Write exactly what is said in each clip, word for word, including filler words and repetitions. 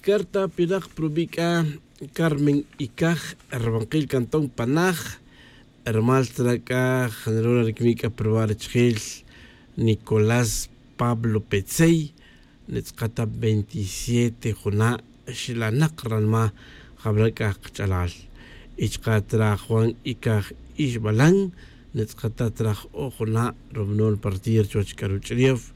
Carta pinak prubi' c'a carmen icaj, rubankil cantón panaj. Rumal tzra' c'a janrura ricmic c'a pruba' richijil nicolás pablo petzey. Nitz'aka' ta veintisiete juna' xlanak ranma jabra' c'a kach'alal. Y chaka' tzra' juan icaj ixbalan. Nitz'aka' ta tzra' j-o' juna' rubanol partir chuwech c'a ruch'ulef.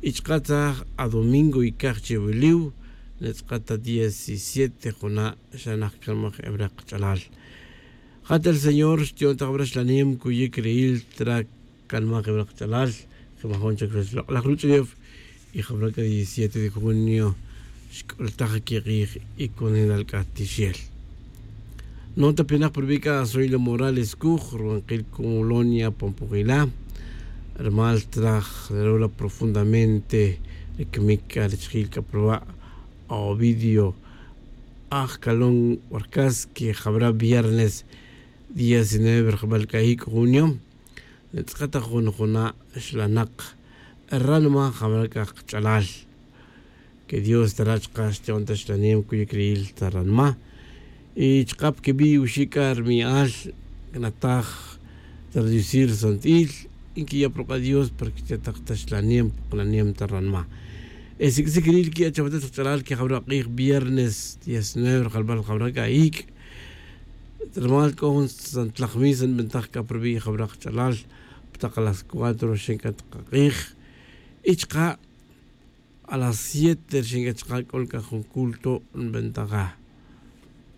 Y chaka' tzra' j-adomingo icaj chiwiliw. Nitz'aka' ta diecisiete juna' xlanak canmaj jabra' kach'alal. Jat el señor xti'on ta jabra' xlanem cuyic ri'il tzra' canmaj jabra' kach'alal. Jemajon chac chuwech lok'laj ruch'ulef. Y jabra' c'a diecisiete de junio xc'ultaj quikij y cunelal c'a tixel. Nota pinak prubi' c'a azoilo morales cuj rubankil colonia pompojila. Rumal tzra' j-rula profundamente ricmic c'a richijil c'a pruba' ovidio aj calón warcas que jabra' viernes diecinueve rajbal c'a ic' junio. Nitz'aka' ta jun juna' xlanak ranma jabra' c'a kach'alal. Que dios tara' chaka' xti'on ta xlanem cuyic ri'il ta ranma. Y chaka' pa quibi' oxi' c'a rmi'al canataj ta radiosir santil. Y nquiya' pa ruk'a' dios para que xti'on ta xlanem pa kalanem ta ranma. E siq'uisic ri'il quiya' chawatet kach'alal que jabra' k'ij viernes diecinueve rajbal jabra' c'a ic'. Rumal c'o jun santlaj misa nbantaj c'a prubi' jabra' kach'alal pa tak las cuatro xin c'a tak kak'ij. Y chaka' a las siete rxin c'a chaka' c'o c'a jun culto nbantaja.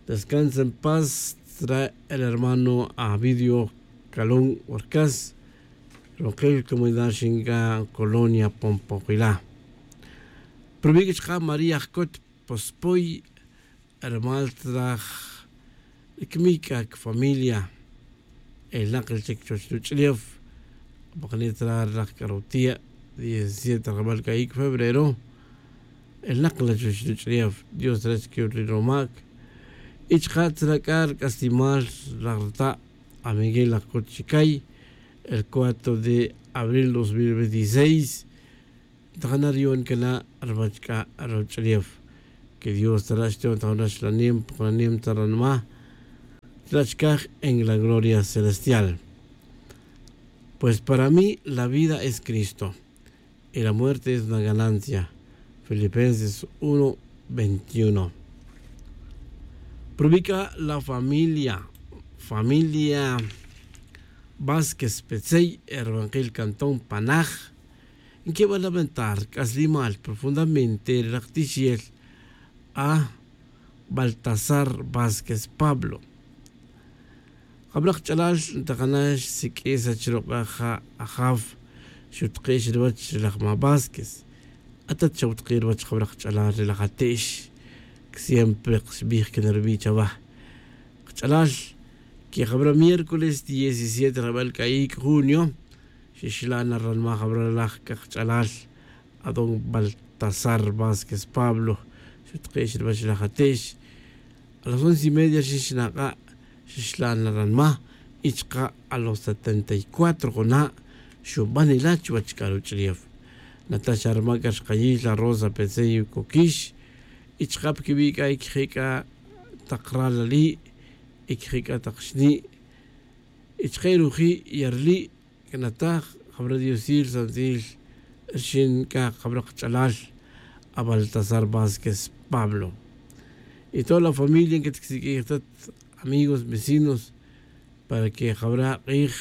Descansa en paz tzra' el hermano avidio calón warcas. Rubankil comunidad rxin c'a colonia pompojila. Prubi' c'a chaka' maría jcot pospoy. Rumal tzra' j-cmic c'a cafamilia. Elnak la chic chuwech ruch'ulef. Apakni tzra' rilaj c'a rutia' diecisiete rajbal c'a ic' febrero. Elnak la chuwech ruch'ulef dios tara' chic ri rumac. Y chaka' tzra' c'a ruc'aslimal rilaj ruta' amiguel laj cot chicay. El cuatro de abril dos mil veintiseis. Tajana riyon cana' ruwech c'a ruch'ulef. Que dios tara' xti'on ta jun raxlanem pa kalanem ta ranma. Tzra' chicaj en la gloria celestial. Pues para mí la vida es cristo y la muerte es una ganancia. Filipenses uno veintiuno. Prubi' c'a la familia familia vásquez petzey e rubankil cantón panaj. Nquiba lamentar c'aslimal profundamente ri laj tixel a baltasar vásquez pablo. Jabra' kach'alal ntajana' xsiq'ui' sach ruk'a' ja' ajaf xutiki' xruwech ri laj ma' vásquez. Atat xawutiki' ruwech jabra' kach'alal ri laj ate'x. Siempre xbij can rubi' chawa kach'alal. Que jabra' miércoles diecisiete rajbal c'a ic' junio xixla' na ranma' jabra' laj c'a kach'alal adón baltasar vásquez pablo. Xutiki' xruwech laj ate'x a las once y media rxin xnak'a' xixla' na ranma'. Y chaka' a los setenta y cuatro juna' xuban ila chuwech c'a ruch'ulef. Nata' xa ruma c'a rxkayil la rosa petzey coquix. Y chaka' pa quibi' c'a ic je' c'a tak ral ali', ic je' c'a tak xni', y chaka' ruji' yarli'. Canataj jabra' diosil santil rxin c'a jabra' kach'alal a baltasar vásquez pablo. Y toda la familia nquet quisiq'uij tat amigos vecinos para que jabra' k'ij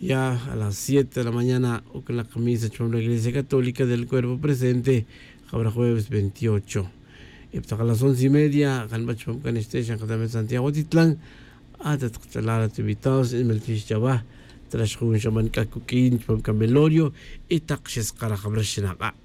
ya a las siete de la mañana uc'nak misa chupam la iglesia católica del cuerpo presente. Jabra' jueves veintiocho y pa tak a las once y media janba chupam c'a nixte' xan katamet santiago titlan. Atat kach'alal rat invitados inmel tix chawa. Trax jun xaman c'a cuq'uin chupam c'a velorio y tak xeskara jabra' xnak'a'.